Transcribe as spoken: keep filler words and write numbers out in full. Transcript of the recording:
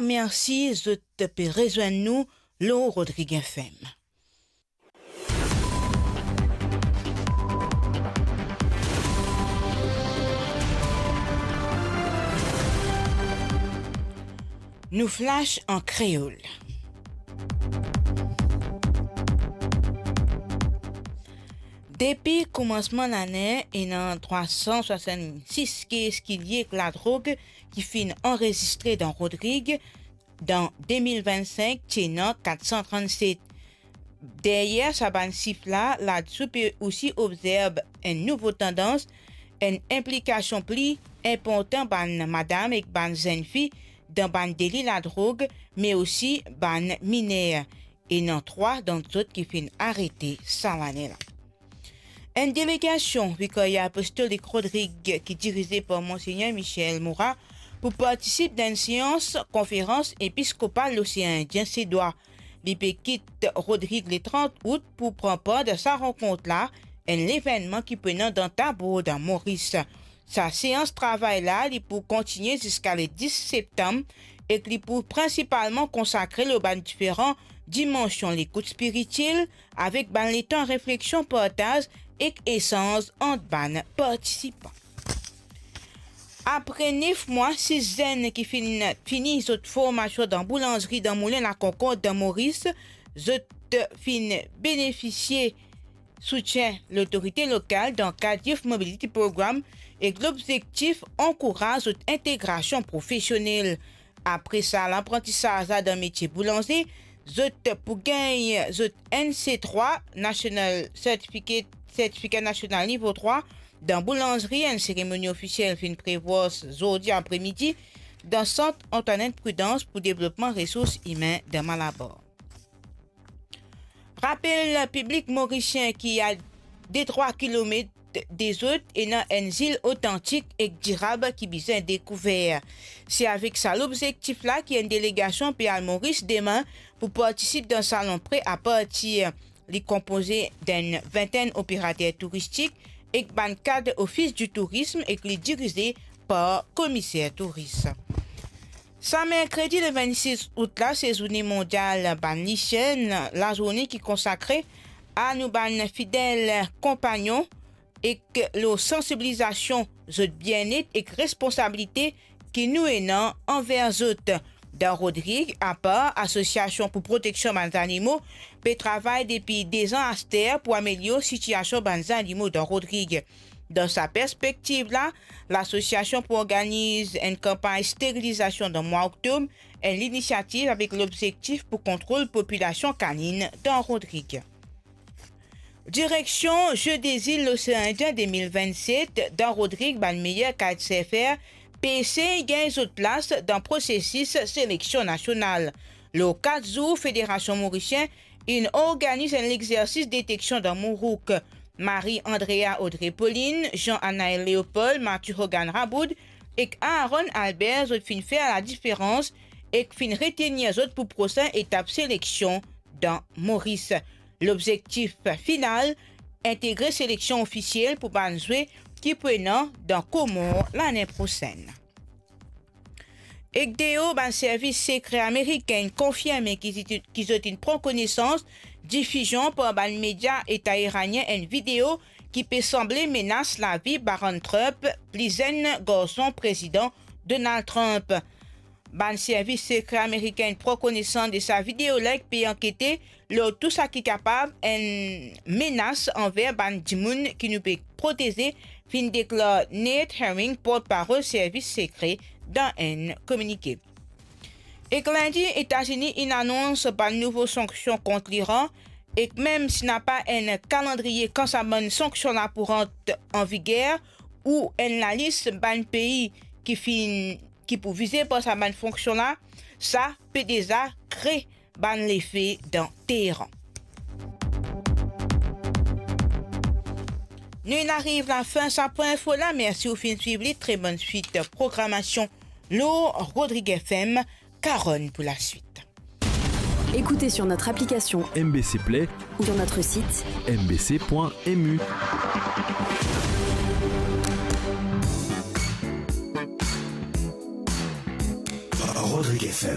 Mersi zot pe rezwenn nou lor Rodrig F M. Nou flash an kreol. Depi koumansman lane, ena trwa san swasann-sis kes ki lie ek ladrog ki finn anrezistre dan Rodrig. Dan de mil vinn-sink, ti ena kat san trannset. Deryer sa bann sif la, ladsou pe osi obzerv enn nouvo tandans, enn inplikasion pli inportan bann madam ek bann zenn fi dan bann deli ladrog, me osi bann miner. Ena trwa dan zot ki finn arete sa lane la. Enn delegasion Vikarya Apostolik Rodrig ki dirize par Monsegner Michel Moura pou partisip dan enn seans konferans episkopal Losean Indien Sedwa. Li pe kit Rodrig le trant out pou pran par dan sa rankont la, enn levennman ki pou ena dan Thabor dan Moris. Sa seans travay la, li pou kontigne ziska le dis septam ek li pou prinsipalman konsakre lor bann diferan dimansion lekout spiritiel, avek bann letan refleksion, partaz ek esanz ant bann partisipan. Apre nef mwa, sis zenn ki finn fini zot formasion dan boulanzri dan Moulin Lakonkord dan Moris, zot finn benefisie soutien lotorite lokal dan kad Youth Mobility Program ek lobzektif ankouraz zot integrasion profesionel. Apre sa laprantisaz la dan metie boulanze, zot pou gagn zot N C trwa, National Certificate, Sertifika Nasional Nivo trwa, dan boulanzri. Enn seremoni ofisiel finn prevwar zordi apremidi dan Sant Antoinette Prudence pou devlopman resours imin dan Malabar. Rapel piblik morisien ki a de trwa kilomet de zot ena enn zil otantik ek dirab ki bizin dekouver. Se avek sa lobzektif la ki enn delegasion pe al Moris demin pou partisip dan Salon Pre a Partir. Li konpoze d'enn vintenn operater touristik ek bann kad Office du Tourisme ek li dirize par Komiser Touris. Sa merkredi le vennsis out la, se zourne mondial bann lisien, lazourne ki konsakre a nou bann fidel konpagnon ek lor sansibilizasion zot bienet ek responsabilite ki nou ena anver zot. Dan Rodrig, apar Asosiasion pou Proteksion Bann Zanimo pe travay depi de zan aster pou amelior sitiasion bann zanimo dan Rodrig. Dan sa perspektiv la, lasosiasion pou organiz enn kanpagn sterilizasion dan mwa oktob, enn linisiativ avek lobzektif pou kontrol popilasion kanin dan Rodrig. Direksion Jeux des Îles L'Océan Indien de mil vennset, dan Rodrig bann meyer kite surfer pe esey gagn zot plas dan prosesis seleksion nasional. Lor kat zour, Federasion Morisien inn organiz enn lexersis deteksion dan Mourouk. Marie Andrea Audrey Pauline, Jean Anaël Léopold, Mathieu Hogan Raboud ek Aaron Albert, zot finn fer ladiferans ek finn retenir zot pou prosin etap seleksion dan Moris. Lobzektif final, integre seleksion ofisiel pou bann zwe ki pou ena dan Komor lane prosenn. Ek deor, bann servis sekre amerikin konfirme ki zit-, ki zot inn pran konesans difizion par bann media Eta iranien enn video ki pe sanble menas lavi Barron Trump, pli zenn garson Prezidan Donald Trump. Bann servis sekre amerikin pran konesans de sa video la ek pe ankete lor tou saki kapav enn menas anver bann dimoun ki nou pe proteze, finn deklar Nate Herring, portparol servis sekre, dan enn kominike. Ek lindi, Etazini inn anons bann nouvo sanksion kont Liran, ek mem si napa enn kalandriye kan sa bann sanksion la pou rant an viger, ou enn lalis bann pei ki finn, ki pou vize par sa bann sanksion la, sa pe deza kre bann lefe dan Teheran. Nou inn ariv lafin sa pwin info la. Mersi ou finn swiv li. Tre bonn swit programasion lor Rodrig F M. Karonn pou laswit. Écoutez sur notre application M B C Play ou sur notre site M B C point M U. Rodrig F M.